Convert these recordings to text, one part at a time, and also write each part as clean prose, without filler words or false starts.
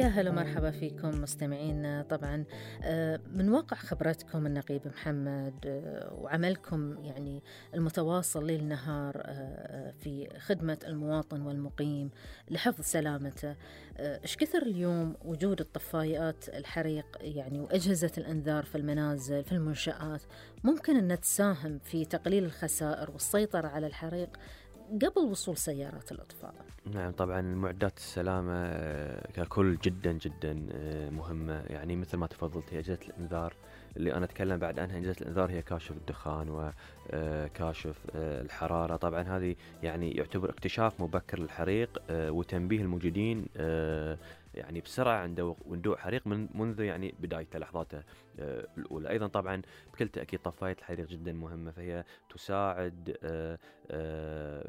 يا هلا مرحبا فيكم مستمعين. طبعا من واقع خبرتكم النقيب محمد وعملكم يعني المتواصل ليل نهار في خدمة المواطن والمقيم لحفظ سلامته، إيش كثر اليوم وجود الطفايات الحريق يعني وأجهزة الإنذار في المنازل في المنشآت ممكن أن تساهم في تقليل الخسائر والسيطرة على الحريق قبل وصول سيارات الإطفاء؟ نعم طبعا معدات السلامة ككل جدا جدا مهمة. يعني مثل ما تفضلت هي أجهزة الإنذار اللي أنا أتكلم بعد عنها. أجهزة الإنذار هي كاشف الدخان وكاشف الحرارة. طبعا هذه يعني يعتبر اكتشاف مبكر للحريق وتنبيه الموجودين يعني بسرعة عند وندوء حريق منذ يعني بدايته لحظاته الأولى. أيضا طبعا بكل تأكيد طفاية الحريق جدا مهمة، فهي تساعد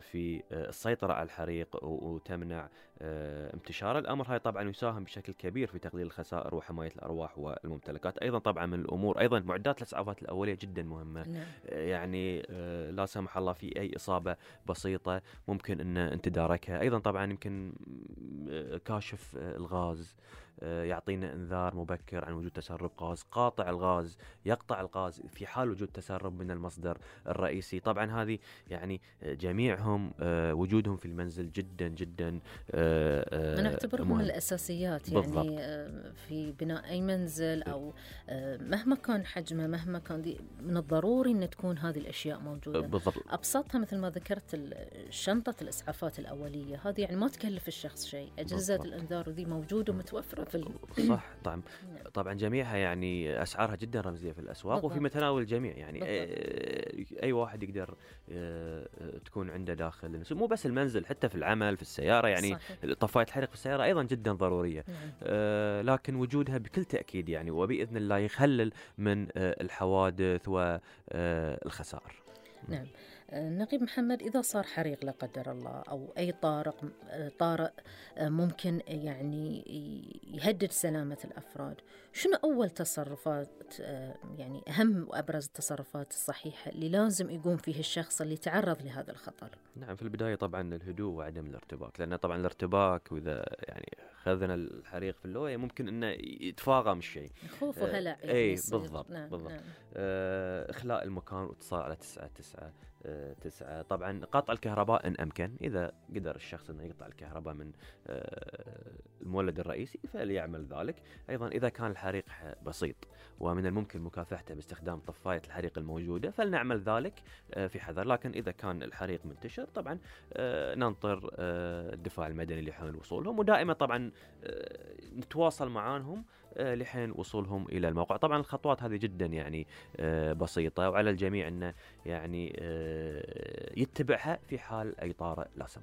في السيطرة على الحريق وتمنع انتشار الأمر. هاي طبعا يساهم بشكل كبير في تقليل الخسائر وحماية الأرواح والممتلكات. أيضا طبعا من الأمور أيضا معدات الإسعافات الأولية جدا مهمة. يعني لا سمح الله في أي إصابة بسيطة ممكن أن أنت تداركها. أيضا طبعا يمكن كاشف الغاز يعطينا انذار مبكر عن وجود تسرب غاز. قاطع الغاز يقطع الغاز في حال وجود تسرب من المصدر الرئيسي. طبعا هذه يعني جميعهم وجودهم في المنزل جدا جدا أنا أعتبرهم من الأساسيات بالضبط. يعني في بناء أي منزل أو مهما كان حجمه مهما كان من الضروري أن تكون هذه الأشياء موجودة بالضبط. أبسطها مثل ما ذكرت شنطة الإسعافات الأولية، هذه يعني ما تكلف الشخص شيء. أجهزة الإنذار ذي موجودة ومتوفرة في صح. طبعا جميعها يعني أسعارها جدا رمزية في الأسواق بالضبط. وفي متناول الجميع يعني أي واحد يقدر تكون عنده داخل مو بس المنزل، حتى في العمل في السيارة. يعني طفاية الحريق في السيارة أيضا جدا ضرورية. لكن وجودها بكل تأكيد يعني وبإذن الله يقلل من الحوادث والخسائر. نعم نقيب محمد، إذا صار حريق لا قدر الله أو أي طارئ ممكن يعني يهدد سلامة الأفراد، شنو أول تصرفات يعني أهم وأبرز التصرفات الصحيحة اللي لازم يقوم فيه الشخص اللي تعرض لهذا الخطر؟ نعم في البداية طبعا الهدوء وعدم الارتباك، لأن طبعا الارتباك وإذا يعني خذنا الحريق في اللوية ممكن أنه يتفاقم الشيء، خوف وهلع. أي بالضبط. نعم. بالضبط. نعم. إخلاء المكان واتصال على 999. طبعا قطع الكهرباء إن أمكن، إذا قدر الشخص أنه يقطع الكهرباء من المولد الرئيسي فليعمل ذلك. أيضا إذا كان الحريق بسيط ومن الممكن مكافحته باستخدام طفاية الحريق الموجودة فلنعمل ذلك في حذر. لكن إذا كان الحريق منتشر طبعا ننطر الدفاع المدني لحين وصولهم، ودائما طبعا نتواصل معهم لحين وصولهم إلى الموقع. طبعا الخطوات هذه جدا يعني بسيطة، وعلى الجميع أنه يعني يتبعها في حال أي طارئ لا سمح.